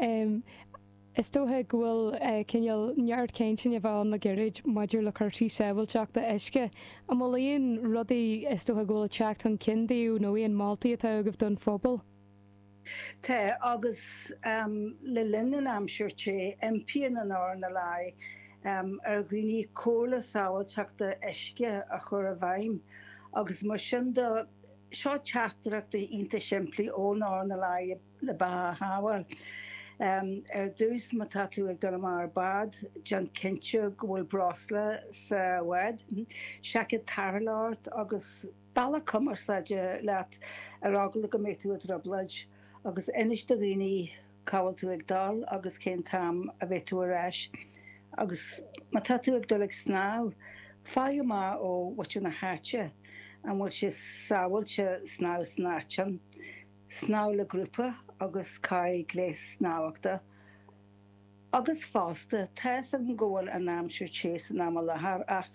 Is dócha go bhfuil cineál neart cainteanna a bheith ann le gairid maidir le cúrsaí sábháilteachta uisce. An bhfuil aon rudaí is dócha go bhfuil ag teacht chun cinn daoibh nó aon moltaí atá agaibh don phobal? Tá, agus le linn an aimsir te, impíonn an RNLI ar dhaoine comhairle sábháilteachta uisce a chur i bhfeidhm agus mar sin de, seo teachtaireachtaí iontach simplí ón RNLI le beatha a shábháil. Ar dtús, má tá tú ag dul amach ar bád, déan cinnte go bhfuil breosla sa bhád, seaicéad tarrthála ort agus bealach cumarsáide leat ar eagla go mbeidh tú i dtrioblóid agus inis do dhaoine cá bhfuil tú ag dul agus cén t-am a bheidh tú ar ais. Agus má tá tú ag dul ag snámh, faigh amach ó mhuintir na háite an bhfuil sé sábháilte snámh san áit sin. Snámh le grúpa agus caith gléas snámhachta. Agus fosta, tá 'fhios agam go bhfuil an aimsir te san am i láthair ach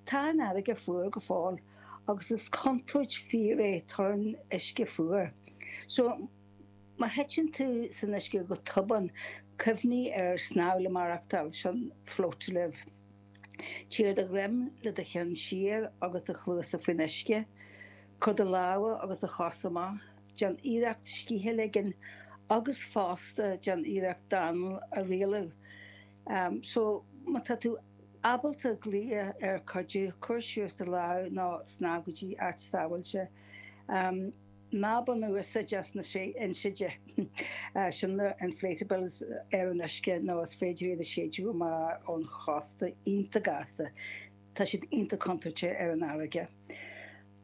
tá an fharraige fuar go fóill agus is contúirt fíor é torann uisce fuar. So, má thiteann tú san uisce go tobann, cuimhnigh ar snámh le maireachtáil, sin float to live. Téigh ar do dhroim le do cheann siar agus do chluasa faoin uisce. Cuir do lámha agus do chosa amach. Déan iarracht scíth a ligean agus fosta déan iarracht d'anáil a rialú. So, má tá tú ábalta glaoch ar cuidiú, cuir suas do lámh nó snámh go dtí áit sábháilte. Ná bain úsáid as na inséide, sin na inflatables, ar an uisce nó is féidir iad a séideadh amach ón chósta iontach gasta. Tá siad iontach contúirteach ar an fharraige.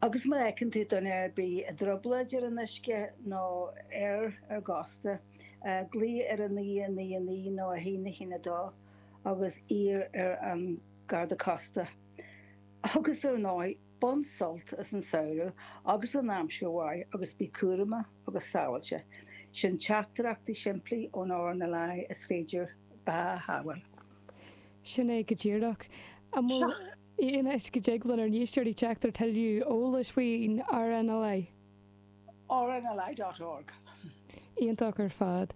Agus má fheiceann tú duine ar bith i dtrioblóid ar an uisce nó ar ar gcósta, glaoigh ar 999 nó 1 1 2 agus iarr ar an Garda Cósta. Agus ar ndóigh, bain sult as an samhradh agus an aimsir mhaith agus bí cúramach agus sábháilte. Sin teachtaireachtaí simplí ón RNLI is féidir beatha a shábháil. Sin é go díreach. An bhfuil aon áit go dtig lenár n-éisteoirí teacht ar tuilleadh eolais faoin RNLI? RNLI dot org. Iontach ar fad.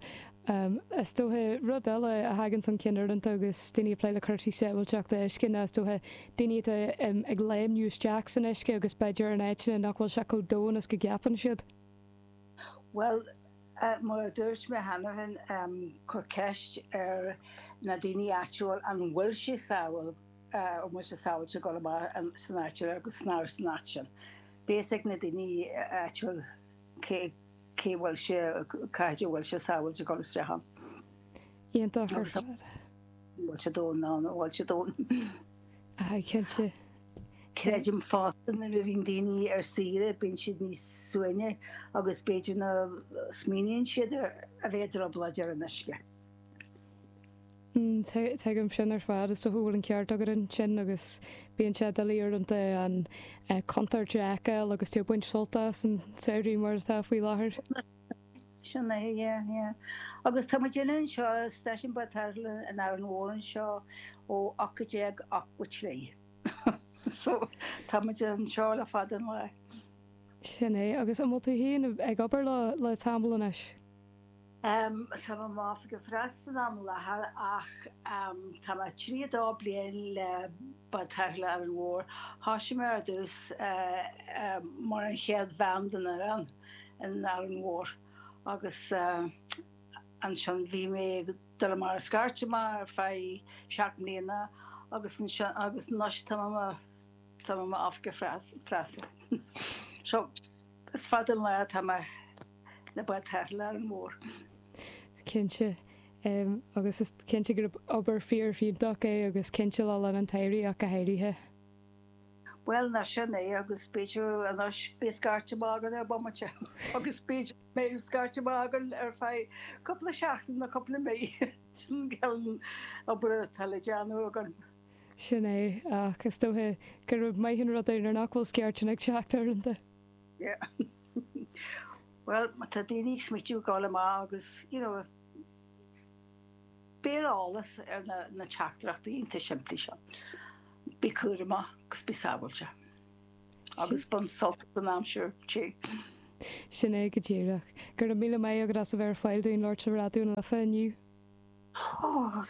Is dócha, rud eile a thagann chun cinn uaireanta agus daoine ag plé le cúrsaí sábháilteachta uisce ná is dócha daoine atá ag léimniú isteach san uisce agus b'fhéidir in áiteanna nach bhfuil sé chomh domhain is go gceapann siad. Bhuel, mar a dúirt mé cheana féin, cuir ceist ar na daoine áitiúil an bhfuil sé sábháil, an bhfuil sé sábháilte dul amach san áit agus snámh san áit sin. Beidh a fhios ag na daoine áitiúil cé cé bhfuil sé, cá háit a bhfuil sé sábháilte dul isteach ann. Iontach ar fad. An bhfuil sé domhain nó an bhfuil sé domhain. Aye, cinnte. Creidim fosta nuair a bhíonn daoine ar saoire bíonn siad níos suaimhní agus b'fhéidir nach smaoiníonn siad ar a bheith i dtrioblóid ar an uisce. Tuigim sin ar fad. Is dócha go bhfuil an ceart agat ansin agus bíonn sé doiligh uaireanta an chontúirt a fheiceáil agus tú ag baint sult as an samhradh mar atá faoi láthair. Sin é, yeah, yeah. Agus tá muidinne anseo i Stáisiún Bád Tarrthála in Árainn Mhór anseo ó 1883. So, tá muid anseo le fada an lá. Sin é. Agus an bhfuil tú féin ag obair leo le tamall anois? Tá mé i m'oifigeach preasa san am i láthair ach tá mé 32 bliain le Bád Tarrthála Árainn Mhór. Thosaigh mé ar dtús mar an chéad bhean den fhoireann in Árainn Mhór agus ansin bhí mé ag dul amach ar scairt amach ar feadh 7 mbliana agus ansin agus anois tá mé tá mé i m'oifigeach preasa. So is fada an lá atá mé le Bád Tarrthála Árainn Mhór. Cinnte. Agus is cinnte gurb obair fíor-fhiúntach é agus cinnte le linn an tsamhraidh ach go háirithe. Bhuel, ná sin é agus b'fhéidir anois beidh scairt amach againn ar bomaite agus b'fhéidir go mbeidh scairt amach againn ar feadh cúpla seachtain nó cúpla mí. Sin an cineál obair atá le déanamh againn. Sin é, ach is dócha gurb maith an rud é nuair nach bhfuil scairteanna ag teacht uaireanta. Yeah. Bhuel, má tá daoine ag smaoitiú ag dul amach agus, you know, bí ar eolas ar na, na teachtaireachtaí iontach simplí seo. Bí cúramach agus bí sábháilte. Agus bain sult as an aimsir te. Sin é go díreach. Go raibh míle maith agat as a bheith ar fáil dúinn labhairt le Raidió na Life inniu. Ó,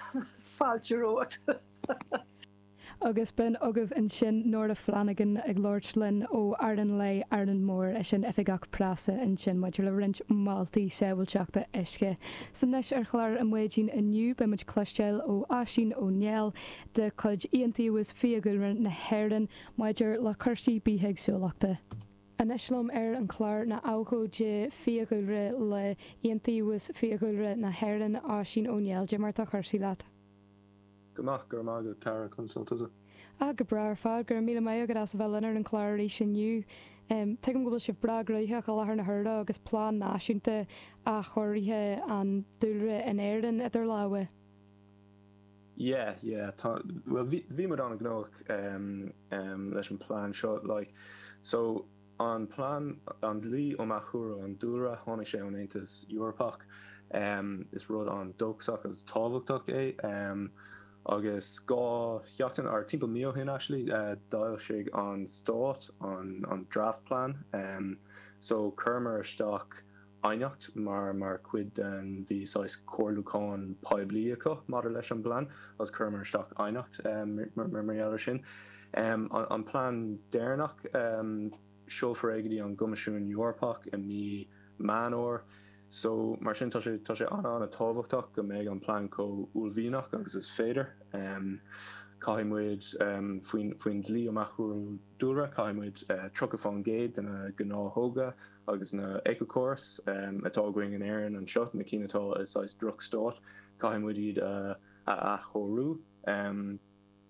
fáilte romhat. Agus b'in agaibh ansin Nóra Flanagan ag labhairt linn ó Árainn Láir, Árainn Mhór, í sin oifigeach preasa ansin maidir le roinnt moltaí sábháilteachta uisce. 'S anois ar chlár an Mhaidin inniu beidh muid cloisteáil ó Oisín Ó Néill de chuid Iontaobhas Fiadhúlra na hÉireann maidir le cúrsaí bithéagsúlachta. Anois liom ar an chlár ná abhcóide fiadhúlra le Iontaobhas Fiadhúlra na hÉireann, Oisín Ó Néill. Cad é mar atá cúrsaí leat? Go maith, go raibh maith agat, a chara, conas tá tusa? Ah, go breá ar fad, go raibh míle maith agat as a bheith linn ar an chlár arís inniu. Tuigim go bhfuil sibh breá gnóthach i láthair na huaire agus plean náisiúnta athchóirithe an dúlra in Éirinn idir lámha. Yeah, yeah, tá, bhuel bhí, bhí muid an-ghnóthach leis an plean seo, like, so an plean, an dlí um athchóiriú an dúlra, tháinig sé ón Aontas Eorpach, is rud an-dóchasach agus tábhachtach é, agus dhá sheachtain, or timpeall mí ó shin actually, d'fhoilsigh an stát an, an draft plan, so chuireamar isteach aighneacht mar mar chuid den bhí saghas comhairliúchán poiblí acu maidir leis an bplean agus chuireamar isteach aighneacht mar mar gheall ar sin. An plean deireanach, seolfar é go dtí an gCoimisiún Eorpach i mí Meán Fhómhair so mar sin tá sé tá sé an-an-tábhachtach go mbeidh an plean chomh uaillmhianach agus is féidir. Caithfidh muid faoin faoin dlí um athchóiriú dúlra caithfidh muid 30% de na gnáthóga agus na éiceachórais atá againn in Éirinn anseo, na cinn atá i saghas drochstát, caithfidh muid iad a athchóiriú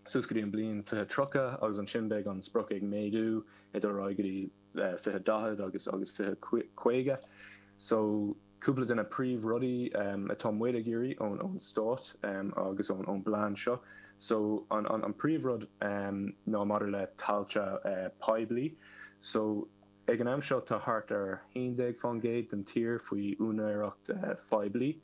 suas go dtí an bliain 2030 agus ansin beidh an sprioc ag méadú ag dul ar aghaidh go dtí 2040 agus agus 2050. So cúpla de na príomhrudaí atá muid ag iarraidh ón ón stát agus ón ón bplean seo. So an an príomhrud ná maidir le tailte poiblí. So Ag an am seo tá thart ar 11% den tír faoi úinéireacht phoiblí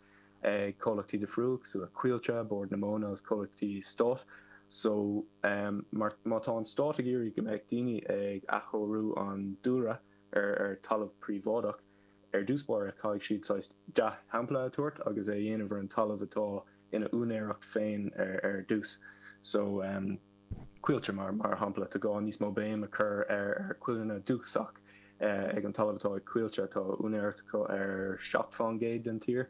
ag comhlachtaí difriúil cosúil le Coillte, Bord na Móna agus comhlachtaí stáit. So mar má tá an stát ag iarraidh go mbeadh daoine ag athchóiriú an dúlra ar ar talamh príobháideach, ar dtús báire caithfidh siad saghas dea-shampla a tabhairt agus é a dhéanamh ar an talamh atá ina úinéireacht féin ar ar dtús. So. Coillte, mar shampla, tá gá níos mó béim a chur ar choillearna dúchasach ag an talamh atá ag Coillte. Tá úinéireacht acu ar 7% den tír,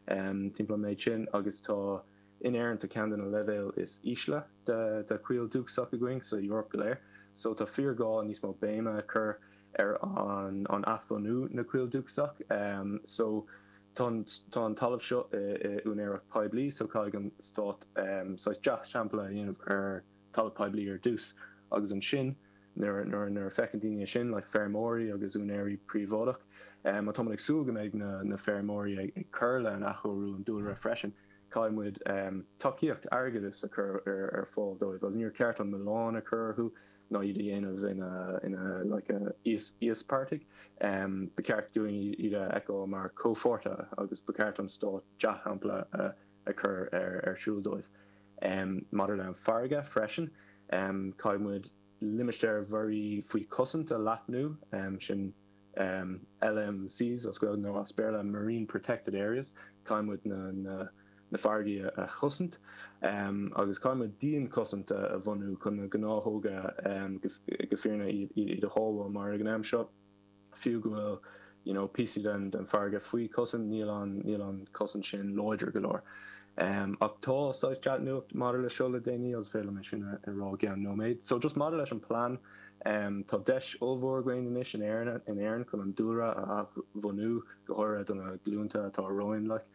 timpeall an méid sin, agus tá in Éirinn tá ceann de na leibhéil is ísle de choill dúchasach againn sa Eoraip go léir. So tá fíorghá níos mó béime a chur ar an athbhunú na coill dúchasach. So Tá an talamh seo i úinéireacht poiblí so caithfidh an stát saghas dea-shampla a dhéanamh ar talamh poiblí ar dtús agus ansin nuair nuair a feiceann daoine é sin, like feirmeoirí agus úinéirí príobháideach, má tá muid ag súil go mbeidh na feirmeoirí ag cur le an athchóiriú an dúlra freisin, caithfidh muid tacaíocht airgeadais a chur ar fáil dóibh agus níor cheart an milleán a chur orthu. ná iad a dhéanamh ina ina like íospartaigh. Ba cheart dúinn iad a fheiceáil mar comhpháirtithe agus ba cheart an stát dea-shampla a chur ar ar siúl dóibh. Maidir le an farraige freisin, caithfidh muid limistéir mhuirí faoi chosaint a leathnú, sin LMCs as Gaeilge nó as Béarla Marine Protected Areas, caithfidh muid na na na farraigí a chosaint agus caithfidh muid dianchosaint a bhunú chun na gnáthóga go fírinne iad a shábháil mar ag an am seo fiú go bhfuil you know píosaí den den farraige faoi chosaint níl an níl an chosaint sin láidir go leor. Ach tá saghas dea-nuacht maidir le seo le déanaí agus féidir liom é sin a rá i gceann nóiméad. So just maidir leis an plean tá deis ollmhór againn anois in Éirinn in Éirinn chun an dúlra a athbhunú go háirithe do na glúnta atá romhainn like.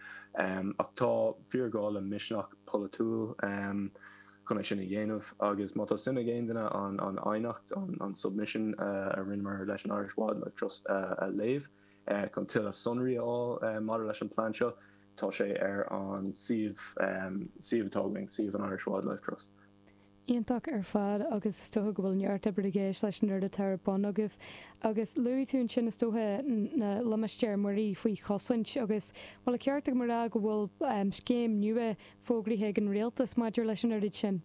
Ach tá fíorghá le misneach polaitiúil chun é sin a dhéanamh agus má tá suim ag aon duine an aighneacht, an submission a rinneamar leis an Irish Wildlife Trust a léamh chun tuilleadh sonraí a fháil maidir leis an plean seo, tá sé ar an suíomh suíomh atá againn, suíomh an Irish Wildlife Trust. Iontach ar fad agus is dócha go bhfuil neart oibre i gceist leis an rud atá ar bun agaibh. Agus luaigh tú ansin is dócha na limistéir muirí faoi chosaint agus bhfuil an ceart agam a rá go bhfuil scéim nua fógraithe ag an rialtas maidir leis an oiread sin?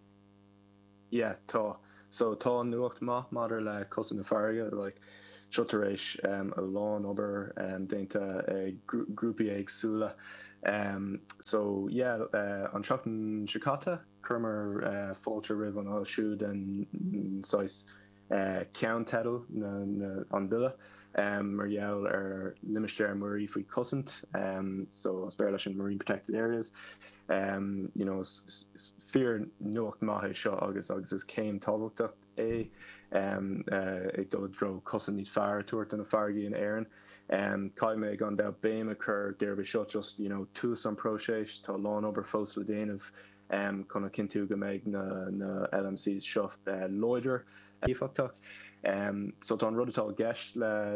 Yeah, tá. So tá nuacht maith maidir le cosaint na farraige. Like, Seo tar éis a lán obair déanta ag grúpaí éagsúla. So yeah, an tseachtain seo caite chuireamar fáilte roimh an fhoilsiú den saghas ceannteideal an bille mar gheall ar limistéir muirí faoi chosaint, so as Béarla sin Marine Protected Areas. You know, is fíor nuacht maith é seo agus agus is céim tábhachtach é ag dul i dtreo cosaint níos fearr a tabhairt do na farraigí in Éirinn. Caithfidh mé gan dabht béim a chur gurb é seo just you know tús an próiseas, tá a lán obair fós le déanamh chun a chinntiú go mbeidh na LMCs seo láidir, éifeachtach. So tá an rud atá i gceist le.